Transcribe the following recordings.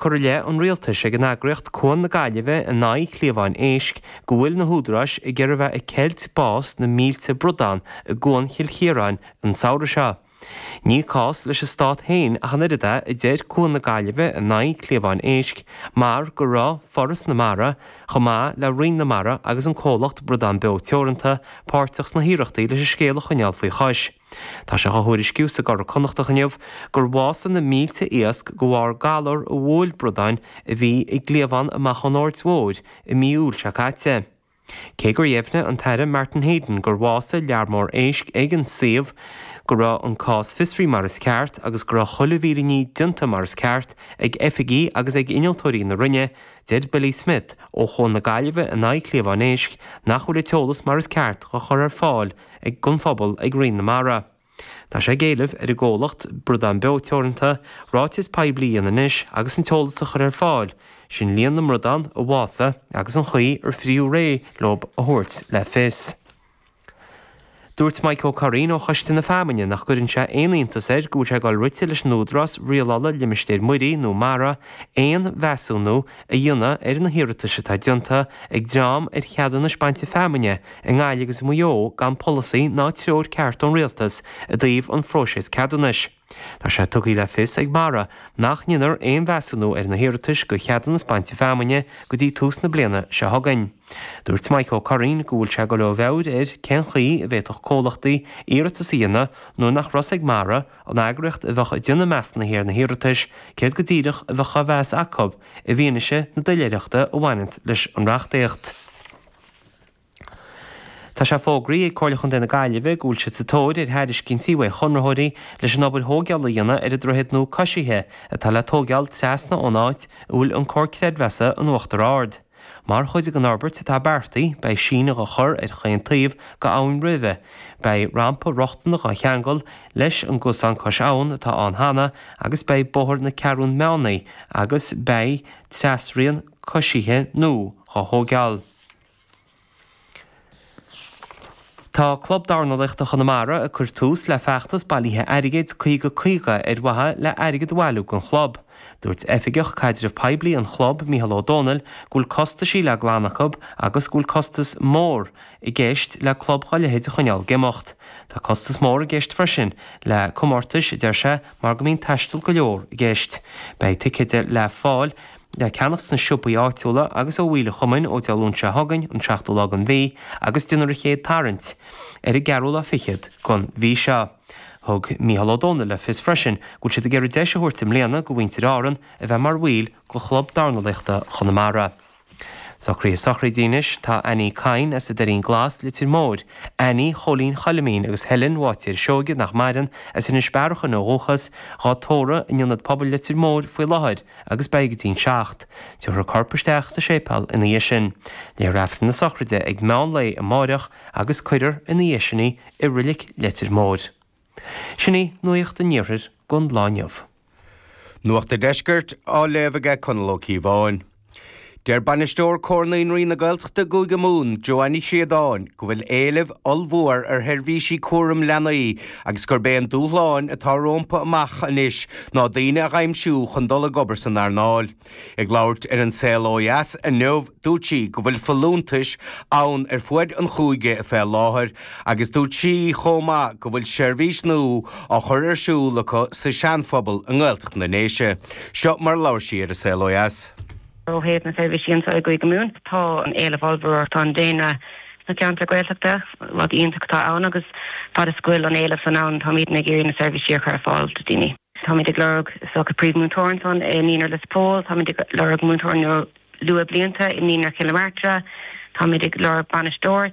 Curtha i leith an rialtais ag an eagraíocht Cuan na Gaillimhe in aghaidh cliabháin éisc go bhfuil na húdaráis ag iarraidh bheith ag ceilt bás na mílte bradán i gCuan Chill Chiaráin an samhradh seo. Ní cás leis an stát féin ach an oiread é, a deir Cuan na Gaillimhe in aghaidh cliabháin éisc, mar go raibh Foras na Mara, chomh maith le Roinn na Mara agus an comhlacht Bradán Beo Teoranta, páirteach sna hiarrachtaí leis an scéal a choinneáil faoi chois. Tá sé á thuairisciú sa gCuradh Connachtach inniu gur bhásaigh na mílte iasc de bharr galar a bhuail bradáin a bhí i gcliabhán amach ón Aird Mhóir i mí Iúil seo caite. Cé gur dheimhnigh an tAire Martin Heydon gur bhásaigh lear mór éisc ag an suíomh, go raibh an cás fiosraithe mar is ceart agus go raibh chuile mhíle ní déanta mar is ceart ag oifigigh agus ag innealtóirí na Roinne, deir Billy Smith ó Chuan na Gaillimhe in aghaidh cliabhán éisc nach bhfuil an t-eolas mar is ceart á chur ar fáil ag don phobal ag Roinn na Mara. Tá sé ag éileamh ar an gcomhlacht Bradán Beo Teoranta ráiteas poiblí a dhéanamh anois agus an t-eolas a chur ar fáil, sin líon na mbradán a bhásaigh agus an chaoi ar frítheadh réidh leo a thabhairt le fios. Dúirt Mike Ó Curraoin ó Choiste na Feamainne nach gcuireann sé aon iontas air go bhfuil sé ag dul rite leis an Údarás Rialála Limistéir Muirí nó Mara aon mheasúnú a dhéanamh ar na hiarratais atá déanta ag dream ar cheadúnais bainte feamainne i nGaillimh agus i Maigh Eo gan polasaí ná treoir ceart ón Rialtas i dtaobh an phróiseas ceadúnais. Tá sé tugtha le fios ag Mara nach ndéanfar aon mheasúnú ar na hiarratais do cheadúnas bainte feamainne go dtí tús na bliana seo chugainn. Dúirt Mike Ó Curraoin go bhfuil sé ag dul ó mheabhair air cén chaoi a bhféadfadh comhlachtaí iarratas a dhéanamh nuair nach raibh a fhios ag Mara, an eagraíocht a bheadh ag déanamh measúnaithe ar na hiarratais, céard go díreach a bheadh á mheas acu i bhfianaise na doiléireachta a bhaineanns leis an reachtaíocht. Tá sé fógraithe ag Comhairle Chontae na Gaillimhe go bhfuil siad sa tóir ar thairiscintí uaidh chonraitheoirí leis an obair thóigeála a dhéanamh ar an droichead nua coisithe atá le tóigeáil trasna ón áit a bhfuil an Comhar Creidmheasa in Uachtar Ard. Mar chuid den fhorbairt atá beartaithe, beidh síneadh á chur ar chaon taobh go abhainn roimhe, beidh rampa rochtana dhá cheangal leis an gcosán cois abhann atá ann cheana agus beidh Bóthar na Ceathrún Meánaí agus beidh trasrian coisithe nua dhá thóigeáil. Tá Club Dornálaíochta Chonamara ag cur tús le feachtas bailithe airgid 50 50 ar mhaithe le airgead a bhailiú don chlub. Dúirt Oifigeach Caidreamh Poiblí an chlub, Mícheál Ó Dónaill, go bhfuil costaisí le glanadh acu agus go bhfuil costas mór i gceist le club dhá leithéid a choinneáil ag imeacht. Tá costas mór i gceist freisin le comórtais, a deir sé, mar go mbíonn taisteal go leor i gceist. Beidh ticéid le fáil le ceannacht sna siopaí áitiúla agus ó bhaill an chumainn ó Dé Luain seo chugainn, an seachtú lá den mhí, agus déanfar an chéad tarraingt ar an gceathrú lá fichead den mhí seo. Thug Mícheál Ó Dónaill le fios freisin go bhfuil siad ag iarraidh deis a thabhairt i mbliana go mhuintir Árann a bheith mar bhaill de Chlub Dornálaíochta Chonamara. Socruithe sochraide anois, tá Annie Kyne as an Doirín Glas, Leitir Móir, Annie Chóilín Choilimín agus Helen Bháitéir Seoige, nach maireann, as Inis Bearachain ó dhúchas, dhá tórramh in Ionad Pobail Leitir Móir faoi láthair agus beidh go dtí'n 7. Tabharfar a corp isteach sa séipéal ina dhiaidh sin. Léifear Aifreann na sochraide ag meán lae amáireach agus cuirfear ina dhiaidh sin í i Roilic Leitir Móir. Sin í Nuacht an Iarthair don lá inniu. Nuacht an Deiscirt á léamh aige Conall Ó Cíobháin. Deir Bainisteoir Comhar Naíonraí na Gaeltachta i gCúige Mumhan, Joanne Ní Chríodáin, go bhfuil éileamh ollmhór ar sheirbhísí cúram leanaí agus gurb é an dúshlán atá rompu amach anois ná daoine a dh'aimsiú chun dul ag obair san earnáil. Ag labhairt ar An Saol Ó Dheas inniu, dúirt sí go bhfuil folúntais ann ar fuaid an chúige fé láthair agus dúirt sí chomh maith go bhfuil seirbhís nua á chur ar siúl acu sa Seanphobal i nGaeltacht na nDéise. Seo mar a labhair sí ar An Saol Ó Dheas. Ó thaobh na seirbhísí anseo i gCúige Mumhan, tá an éileamh ollmhór, tá an daonra sna ceantair Gaeltachta, rud iontach atá ann agus fad is go bhfuil an éileamh san ann, táimidne ag iarraidh na seirbhísí a chur ar fáil do daoine. Táimid ag lorg is dócha príomh-mhúinteoir ansan i Naíonra Lios Póil, táimid ag lorg múinteoir luath-bhlianta i Naíonra Chill na Martra, táimid ag lorg bainisteoir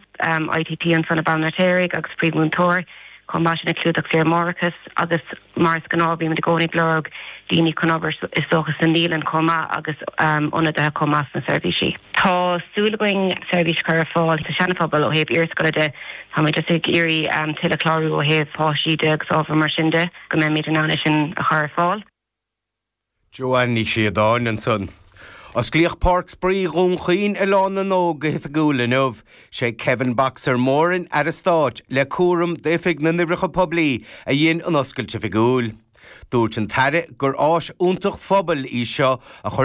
ITT ansan i Baile an Fheirtéaraigh agus príomh-mhúinteoir chomh maith sin ag clúdach saoire máithreachais agus mar is gnáth bímid i gcónaí ag lorg daoine chun obair is dócha sa naíolann chomh maith agus ionadaithe chomh maith sna seirbhísí. Tá súil againn seirbhís a chur ar fáil sa Seana-Phobal ó thaobh iarscoile de, táimid just ag iarraidh tuilleadh clárú ó thaobh páistí de agus ábhar mar sin de. go mbeimid in ann é sin a chur ar fáil. Joanne Ní Chríodáin ansan. Osclaíodh Páirc Spraoi Dhún Chaoin Oileán na nÓg go hoifigiúil inniu. Sé Kevin 'Boxer' Moran, Aire Stáit le cúram d'Oifig na nOibreacha Poiblí, a dhein an oscailt oifigiúil. Dúirt an tAire gur áis iontach phobail í seo a chuireann.